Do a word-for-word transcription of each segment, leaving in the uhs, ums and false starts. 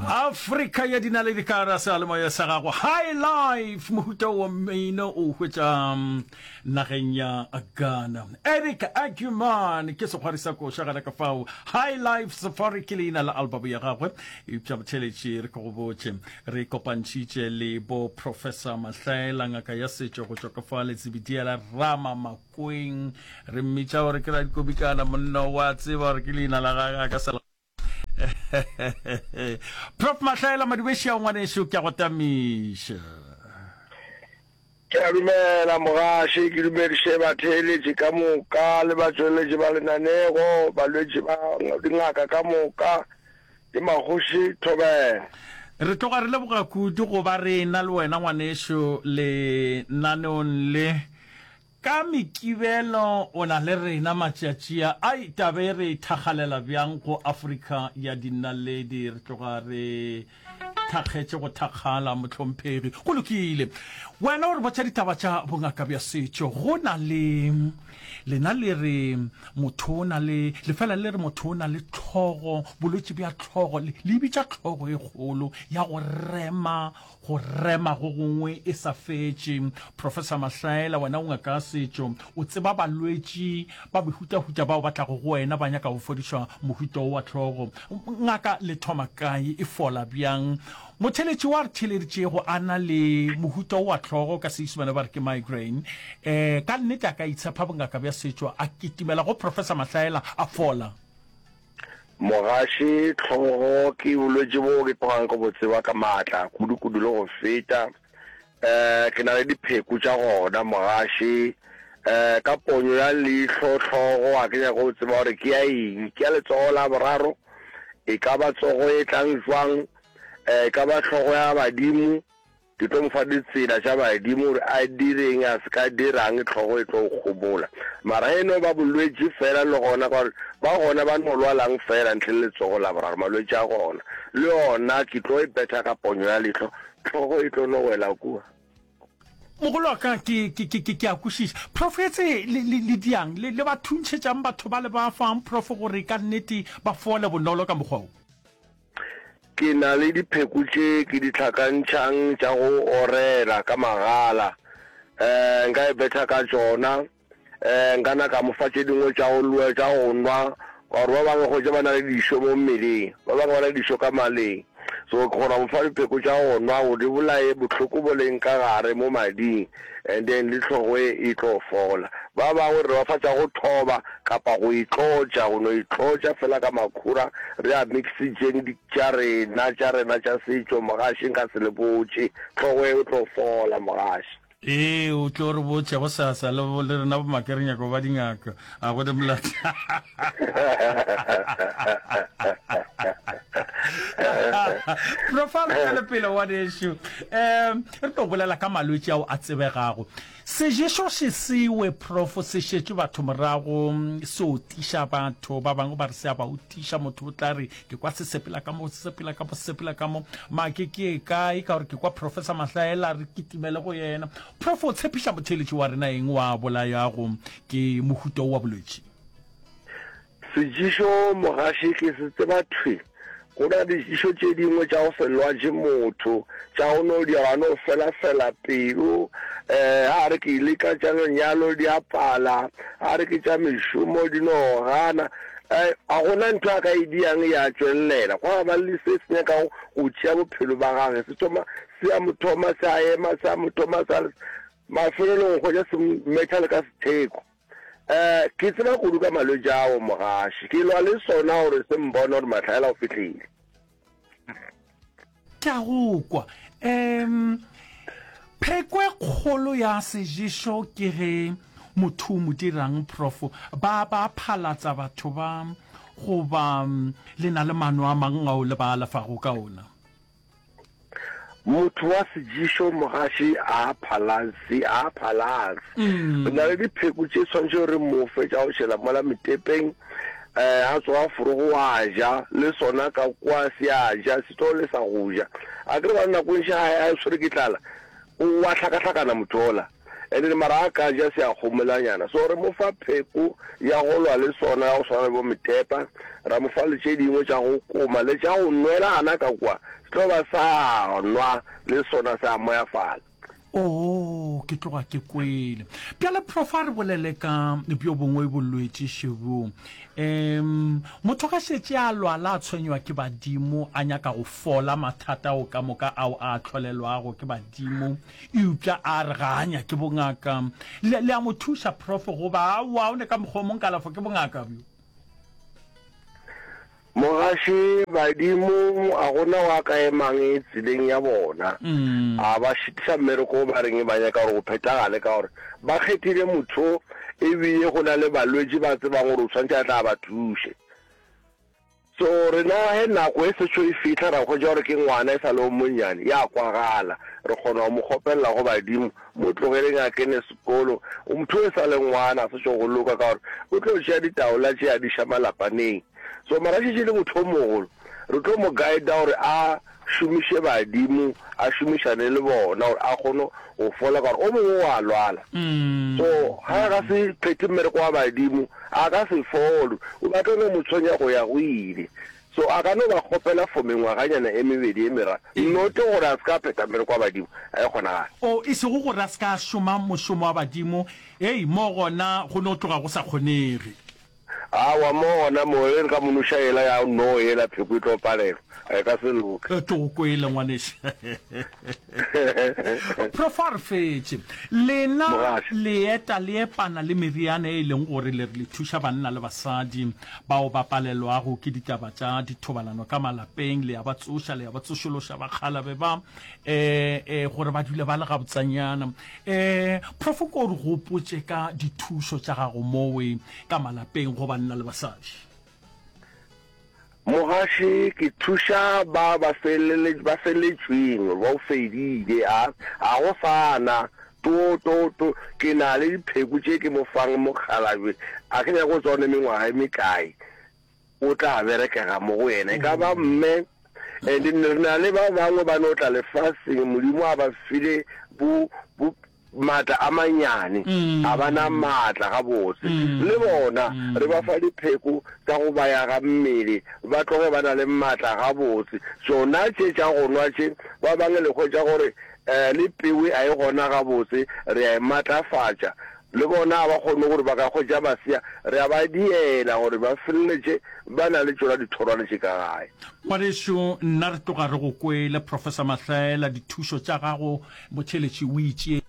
Afrika ya dinaledi ka gare seyalemoya sa gago High Life mohuta wa mmino o hwetša mm, nageng ya Ghana. Eric Aguman ke sekgwari sa koša gana ka fao. High Life Safari ke leina la album ya gagwe. Eupša botheletši re ke go botše re kopantšhitše le bo Professor Mahlaela ngaka ya setšo go tšwa ka fa Letsibidiela Rama Makweng re mmitša gore ke radikobikana monna wa tseba gore ke leina la gagwe a ka se Prof Mahlaela Madubešia ngwanešu ke a go tamiša. Ke a dumela mogaši, ke dumediše batheeletši ka moka le batšweletši ba lenanego, balwetši ba dingaka ka moka le magoši thobela. Re tloga re leboga kudu go ba re ena le wena ngwanešu lenaneong le. Ka Mekibelo o na le rena matšatši a. Ai, taba e re e thakgalela bjang go Afrika ya dinaledi. Re tloga re thakgetše go thakgala, mohlomphegi. Go lokile. Wena o re botša ditaba tša bongaka bja setšo. Go na le, lena le re motho o na le, le fela le re motho o na le hlogo, bolwetši bja hlogo, le, le e bitša hlogo e kgolo ya go rema Go rema go gongwe e sa fetše. Professor Mahlaela, wena o ngaka ya setšo, o tseba balwetši ba mehutahuta bao ba tlago go wena ba nyaka go fodišwa mohuta wo wa hlogo. Ngaka, le thoma kae? E fola bjang? Motheeletši wa re theeleditšego a na le mohuta wo wa hlogo, ka Seisemane ba re ke migraine, um ka nnete a ka itshepa bongaka bja setšo a kitimela go Professor Mahlaela a fola? Mogaši, Hlogo ke bolwetši boo ke tlogang ke bo tseba ka maatla kudu-kudu le go feta. Um ke na le dipheko tša gona, mogaši. Um ka ponyo ya leihlo, hlogo ga ke nyake go tseba gore ke ya eng. Ke ya letsogo la boraro? E ka ba tsogo e tlang jwang? Um e ka ba hlogo ya badimo? Ke tlo mo fa ditsela tša badimo gore a direng a se ka dirang, hlogo e tlo gobola. Mara ge e no ba bolwetši fela le gona, ka gore ba gona ba no lwalang fela ntle le letsogo la boraro, malwetši a gona. Le yona ke tlo e betha ka ponyo ya leihlo, hlogo e tlo no wela kua. Mogolo wa ka, ke, ke, ke, ke, ke a kwešiša. Prof, etse le, le, le diang? Le, le ba thuntšhetšang batho ba le ba fang, Prof, gore ka nnete ba fole bonolo ka mokgwa wo? Ke na le dipheko tše ke di hlakantšhang tša go orela ka magala. Um nka e betha ka tšona. Um nka na ka mo fa tše dingwe tša go lwa, tša go nwa, ka gore ba bangwe hwetša ba na le dišo mo mmeleng, ba bangwe ba na le dišo ka maleng. So ke kgona go mo fa dipheko tša go nwa gore di bolaye bohloko bo leng ka gare mo mading and then le hlogo e e tlo fola. Ba bangwe re ba fa tša go thoba kapa go itlotša, go no itlotša fela ka makhura re a mixitšeng di tša rena, tša rena tša setšo, mogaši nka se le botše, hlogo e o tlo fola mogaši. Ee, o tlo re botša gosasa, le, le rena bomake re nyaka go ba dingaka, a go ne molato. Prof, a re tšwele pele ngwanešu. Um, re tlo bolela ka malwetši ao a tsebegago. Seješo še sewe, Prof, se šetše batho morago, se otiša batho. Ba bangwe ba re se a ba otiša. Motho o tla re, ke kwa se sepela ka mo, se sepela ka mo, se sepela ka mo. Make ke ye kae? Ka gore ke kwa Professor Mahlaela re kitimele go yena. Prof, o tshepiša motheeletši wa rena eng wa bolayago ke mohuta wo wa bolwetši? Sejišo mogaši ke se tseba thwi. Go na le dijišo tše dingwe tša go se lwatše motho, tša go no dira a no felafela pelo. Um a re ke leka tša lenyalo di a pala, a re ke tša mešomo di no gana. Um ga go na ntho a ka e diang ya tšwelelela. Gwa ba le se se nyakago go tšea bophelo ba gage, se thoma se a mo thoma se a ema, se a mo thoma se a. Mafelelong o hwetša se mmetha le ka setheko. Eh, ke tseba kudu ka malwetši ao, mogaši. Ke lwa le sona gore se mbone gore Mahlaela o fihlile. Ke a go kwa. Um, pheko e kgolo ya seješo ke ge motho o mo dirang, Prof? Ba, ba phalatsa batho ba, goba le na le mano a mang ao le ba alafago ka ona? Motho wa sejišo mogaši a phalase, a phalase. Re na le dipheko tše swanetšego re mo fe tša go šela mola metepeng, eh, a tsoga forogo wa ja, le sona ka kwa se a ja, se tlo lesa go ja. A ke re ba nako e ntši ga a tshwere ke tlala, o wa hlakahlakana motho ola. And then mara a ka ja se a gomolanyana. So re mo fa pheko ya go lwa le sona ya go swana le bo metepa, ra mo fa le tše dingwe tša go koma le tša go nwela gana ka kwa, se tlo ba sa nwa le sona se a moyafala. Oo, ke tloga ke kwele. Bjale, Prof, a re bolele ka bjo bongwe bolwetši šebo. Um, motho ga šetše a lwala a tshwenywa ke badimo, a nyaka go fola mathata ao ka moka ao a hlolelwago ke badimo, eupša a re ga a nyake bongaka. Le, le a mo thuša, Prof, goba aowa, o ne ka mokgwa o mong kalafo ke bongaka bjo? Mogaši, Badimo a gona wa ka emang tseleng ya bona. A ba šitiša mmereko wo ba reng ba nyaka gore go phethagale ka gore ba kgethile motho e bile go na le balwetši ba tsebang gore o tshwanetše a tla ba thuše. So rena ge nako e sešo e fihla ra hwetša gore ke ngwana e sa le o monnyane, ya kwagala. Re kgona go mo kgopelela go badimo, mo tlogeleng a kene sekolo. Motho e sa le ngwana a sešo go loka ka gore o tlo tšea ditaola tše a di iša malapaneng. So mara šetše le motho o mogolo, re tlo mo guida gore a šomiše badimo, a šomišane le bona gore a kgone go fola ka gore o mongwe wa lwala. So ga a ka se phethe mmereko wa badimo, a ka se fole, o ba tlo no mo tshwenya go ya go ile. So a ka no ba kgopela for mengwaganyana e mebedi e meraro, not gore a se ka phetha mmereko wa badimo, a e kgonagale. O, e sego gore a se ka šoma mošomo wa badimo, hei, mo gona go no tloga go sa kgonege. Aowa, mo gona mo, ge re ka mo noša yela ya no yela, pheko e tlo palelwa. A e ka se loke. Ke go kwele, ngwanešu. Prof, a re fetše. Lena Mogaši. le eta le epana le meriana e leng gore le re le thuša banna le basadi bao ba palelwago ke ditaba tša dithobalano ka malapeng, le a ba tsoša, le a ba tsošološa bakgalabe ba, eh, eh, gore ba dule ba le gabotsanyana. Eh, Prof, ko o re gopotše ka dithušo tša gago mowe ka malapeng go banna le basadi. Mogaši, ke thuša ba ba felele, ba feletšweng, ba o fedile, a, a go sa na, to, to, to, ke na le dipheko tše ke mo fang mokgalabje, a ke nyake go tseba o ne mengwaga e mekae, o tla berekega mo go yena, e ka ba mme, and re na le ba bangwe ba no tla lefaseng, Modimo a ba file bo, bo, maatla a manyane, a ba na maatla gabotse. Le bona re ba fa dipheko tša go ba yaga mmele, ba tloge ba na le maatla gabotse. Tšona tše tša go nwa tše, ba bangwe le hwetša gore um le pewe a e gona gabotse, re a e matlafatša. Le bona ga ba kgone gore ba ka hwetša masea, re a ba diela gore ba feleletše ba na le tšona dithorwane tše ka gae. Ngwanešu, nna re tloga re go kwele, Professor Mahlaela, dithušo tša gago, motheeletši o itše,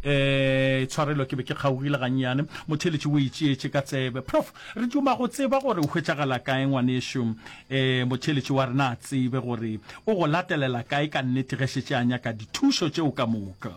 eh, tshwarelo ke be ke kgaogile gannyane, motheeletši o itšeetše ka tsebe. Prof, re duma go tseba gore o hwetšagala kae ngwanešu, eh, motheeletši wa rena a tsebe gore o go latelela kae ka nnete ge šetše a nyaka dithušo tšeo ka moka.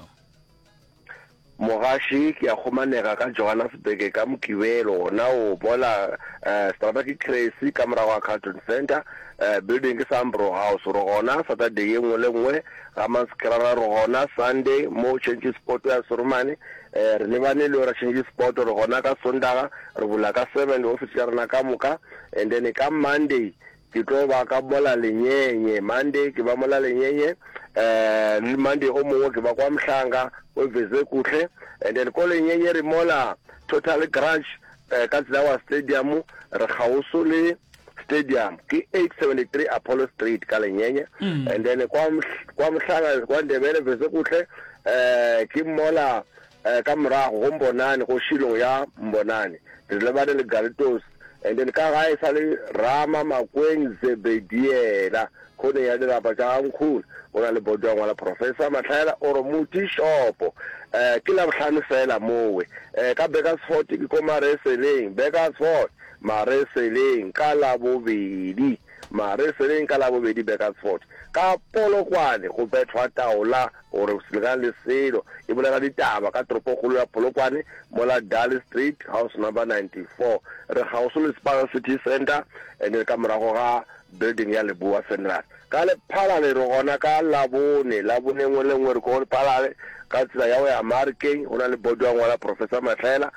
Mogaši, ke a kgomanega ka Johannesburg ka Mokibelo gona o mola eh, seterata ke Cressy ka morago ga Carlton Centre, eh, building ke Sambro House. Re gona Saturday ye nngwe le nngwe ga Maskrara, re gona Sunday mo Change Sport ya Serumane, eh, re lebane le yona Change Sport, re gona ka Sondaga, re bula ka seven di-office tša rena ka moka, and then ka Monday ke tlo ba ka mola Lenyenye. Monday ke ba mola Lenyenye, eh, le Monday o mongwe ke ba kwa Mhlanga o Vezekuhle, and then ko Lenyenye re mola Total Garage, eh, ka tsela wa stadium, re kgauswi le stadium ke eight seventy-three Apollo Street ka Lenyenye. And then kwa Mhl-, kwa Mhlanga kwa Ndebele Vezekuhle, eh, ke mola, eh, ka morago go Mbonane, go Shilong ya Mbonane, re lebane le Garitos. And then ka gae sa le Rama Makweng Zebediela khoneng ya dirapa tša ga Nkhulu, go na le boto ya ngwala Professor Mahlaela oro Muti Shopo. Eh, ke Labohlano fela mowe. Eh, ka Burgersfort ke ko Mareseleng, Burgersfort, Mareseleng ka Labobedi. Mareseleng ka Labobedi Burgersfort. Ka Polokwane go bethwa taola gore se lekane le selo. E bolela ditaba ka toropokgolo ya Polokwane mola Darley Street house number ninety-four. Re kgauswi le Spar City Centre and then ka morago ga building ya Leboa Funeral. Ka Lephalale re gona ka Labone, Labone nngwe le nngwe re ko Lephalale ka tsela ya go ya Marikeng, go na le bodo ya ngwala Professor Mahlaela,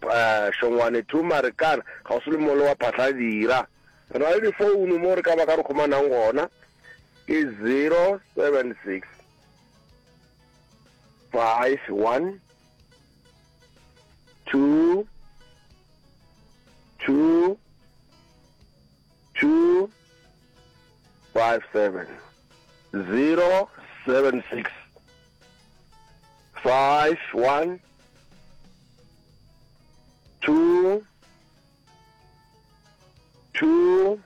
eh, Shongwane two Marikana, kgauswi le molo wa Phatlhadira. Re na le difounu mo re ka ba ka re kgomanang gona, ke zero seven six five one two two two five seven zero seven six five one two two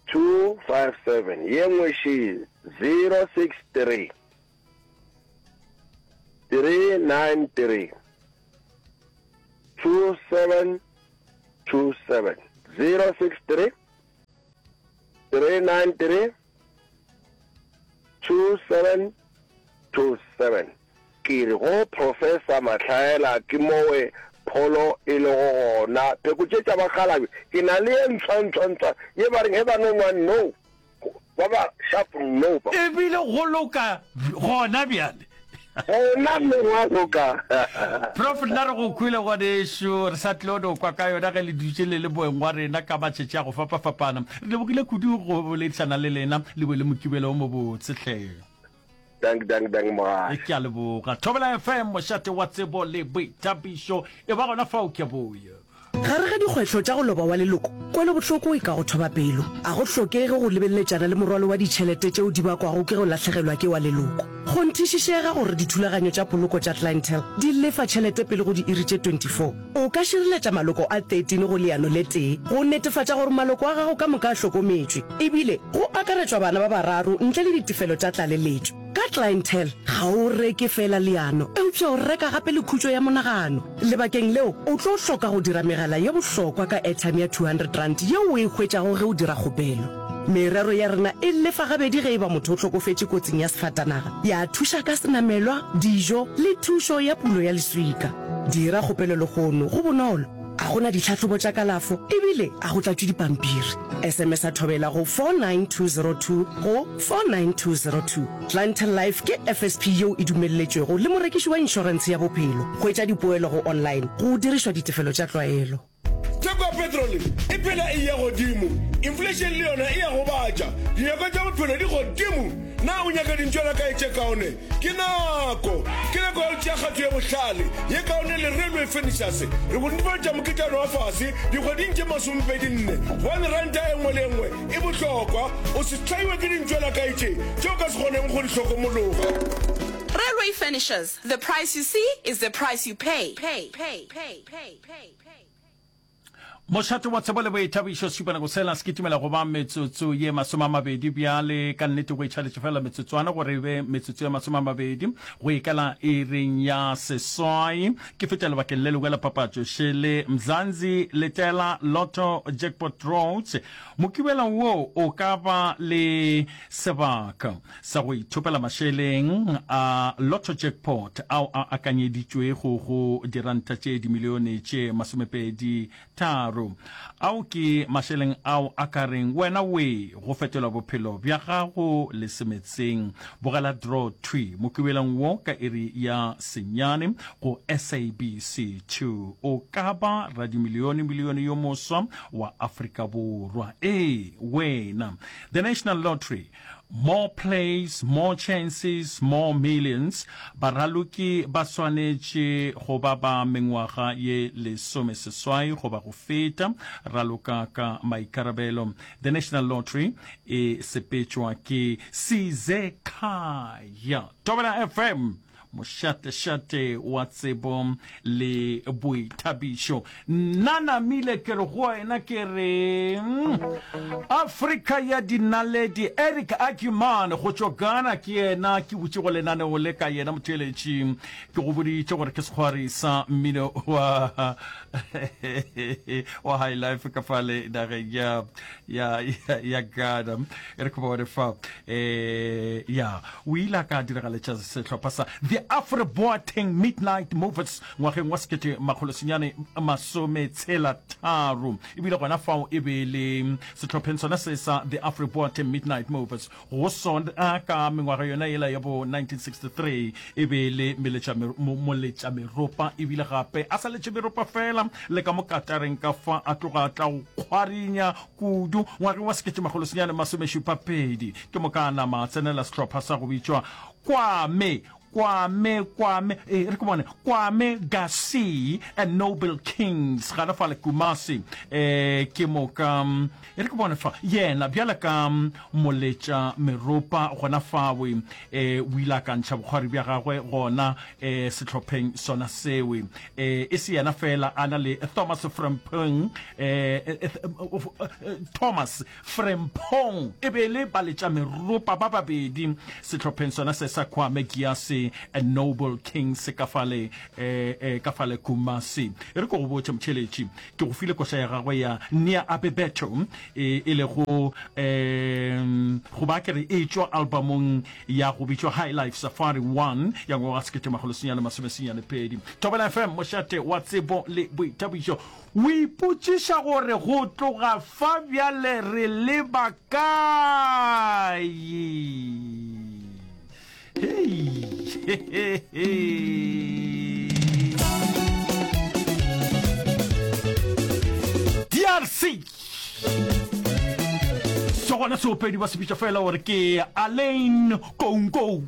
two five seven ye nngwe še zero six three three nine three two seven two seven zero six three three nine three two seven two seven Ke re go Professor Mahlaela ke mowe pholo e lego gona. Pheko tše tša bakgalabje ke na le ye ntshwa ntshwa ntshwa ye ba reng ge ba no nwa no ba ba sharp no ba. Ebile go loka gona bjale. Gona mme gwa loka. Prof nna re go kwele ngwanešu, re sa tlo no kwa ka yona ge le dutše le le moeng wa rena ka matšatši a go fapafapana. Re lebogile kudu go boledišana le lena, le be le Mokibelo o mobotse hle. Dank dank dank mogaši. Ke a leboga. Thobela F M, mošate wa tsebo le boithabišo. E ba gona fao ke a boya. Gare ga dikgwehlo tša go loba wa leloko, kwelobohloko e ka go thoba pelo. A go hlokege go lebeleletšana le morwalo wa ditšhelete tšeo di bakwago ke go lahlegelwa ke wa leloko. Kgonthišišega gore dithulaganyo tša poloko tša Clientele di lefa tšhelete pele go diiri tše twenty four O ka šireletša maloko a thirteen go leano le tee go netefatša gore maloko a gago ka moka a hlokometšwe, ebile go akaretšwa bana ba bararo ntle le ditefelo tša tlaleletšo. Ka Clientele, ga o reke feela leano, eupša o reka gape le khutšo ya monagano. Lebakeng leo, o tlo hloka go dira megala ye bohlokwa ka airtime ya two hundred rand yeo o e hwetšago ge o dira kgopelo. Merero ya rena e lefa gabedi ge e ba motho o hlokofetše kotsing ya sefatanaga, ya thuša ka senamelwa, dijo le thušo ya pulo ya leswika. Dira kgopelo lehono, go bonolo, a go na ditlhahlobo tša kalafo ebile a go tlatšwe dipampiri. S M S a Thobela go four nine two zero two go four nine two zero two. Clientele Life ke F S P yeo e dumelletšwego le morekiši wa inšorentshe ya bophelo. Hwetša dipoelo go online go dirišwa ditefelo tša tlwaelo. Theko ya petrole e phela e eya godimo, inflation le yona e a gobatša, dinyakwa tša bophelo di godimo. Na o nyaka dintšwelakae tše kaone? Ke nako! Ke nako ya go tšea kgato ye bohlale, ye kaone le Railway Furnitures. Re go netefaletša moketšana wa fase dikgweding tše masomepedi nne, gobane ranta e nngwe le e nngwe e bohlokwa. O se hlaiwe ke dintšwelakae tše tše o ka se kgoneng go di hlokomologa. Railway Furnitures, the price you see is the price you pay. Pay, pay, pay, pay, pay. Mošate wa tsebo le boithabišo Šupanako sela se kitimela go ba metsotso ye masome a mabedi bjale. Ka nnete go itšhaletše fela metsotswana gore e be metsotso ye masome a mabedi go ikela iring ya seswai. Ke feta lebakeng le lengwe la papatšo šele Mzansi Letela Lotto Jackpot Roads. Mokibelo wo o ka ba le sebaka sa go ithopela mašeleng a Lotto Jackpot ao a akanyeditšwego go diranta tše dimilione tše masomepedi tharo. Ao ke mašeleng ao a ka reng wena we go fetola bophelo bja gago le semetseng. Bogela draw thwi mokibelong wo ka iri ya senyane go S A B C two. O ka ba radimilione milione yo moswa wa Afrika Borwa. Ee, wena. The National Lottery. More plays, more chances, more millions. Baraloki ba swanetše go ba ba mengwaga ye lesomeseswai goba go feta. Raloka ka maikarabelo. The National Lottery e sepetšwa ke Sizekhaya. Thobela F M, mošatešate wa tsebo le boithabišo. Nna namile ke re go wena ke re Afrika ya dinaledi. Eric Agyeman go tšwa Ghana ke yena ke butše go lenaneo le ka yena. Motheeletši, ke go boditše gore ke sekgwari sa mmino wa wa high life ka fale nageng ya ya ya ya Ghana. E re ke bone fa eh ya o ile a ka diragaletša sehlopha sa The Afro Boateng Midnight Movers ngwageng wa sekete makgolo senyane masome tshela tharo. Ebile gona fao e be le sehlopheng sona se sa The Afro Boateng Midnight Movers go sona ka mengwaga yona yela ya bo nineteen sixty-three e be le moletšameropa, ebile gape a sa letše meropa fela le ka mo katareng ka fa a tloga a tla go kgwarinya kudu ngwageng wa sekete makgolo senyane masomešupa pedi. Ke moka a nama a tsenela sehlopha sa go bitšwa Kwame Kwame, Kwame, e re ke bone, Kwame Gasi and Noble Kings, gana fale Kumasi. E, ke moka, e re ke bone fa, yena bjale ka moletša meropa gona fawe, e, o ile a ka ntšha bokgwari bja gagwe gona e, sehlopheng sona sewe. E, e se yena fela, a na le Thomas Frempong, e, e, e, Thomas Frempong, e be e le baletša meropa ba babedi sehlopheng sona se sa Kwame Gyasi and Noble Kings ka fale, e, e, ka fale Kumasi. E re ke go botše, motšheletši, ke go file koša ya gagwe ya Nia Abebeto, e, e lego, e, goba ke re e tšwa albamong ya go bitšwa High Life Safari One ya ngwaga wa sekete makgolo senyane masome senyane pedi. Thobela F M, mošate wa tsebo le boithabišo. O ipotšiša gore go tloga fa bjale re leba kae? Hei, he, he, he. D R C. Se gona seopedi ba se bitša fela gore ke Alain Kounkou.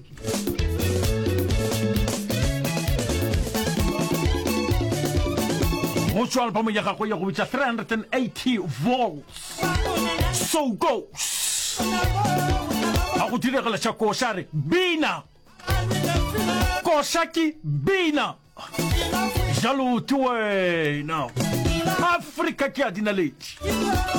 Go tšwa album ya gagwe ya go bitša three hundred and eighty volts. So goes. A go diregela tša koša re bina. Koša ke bina. Jalo ke wena. Afrika ke a dinaletši.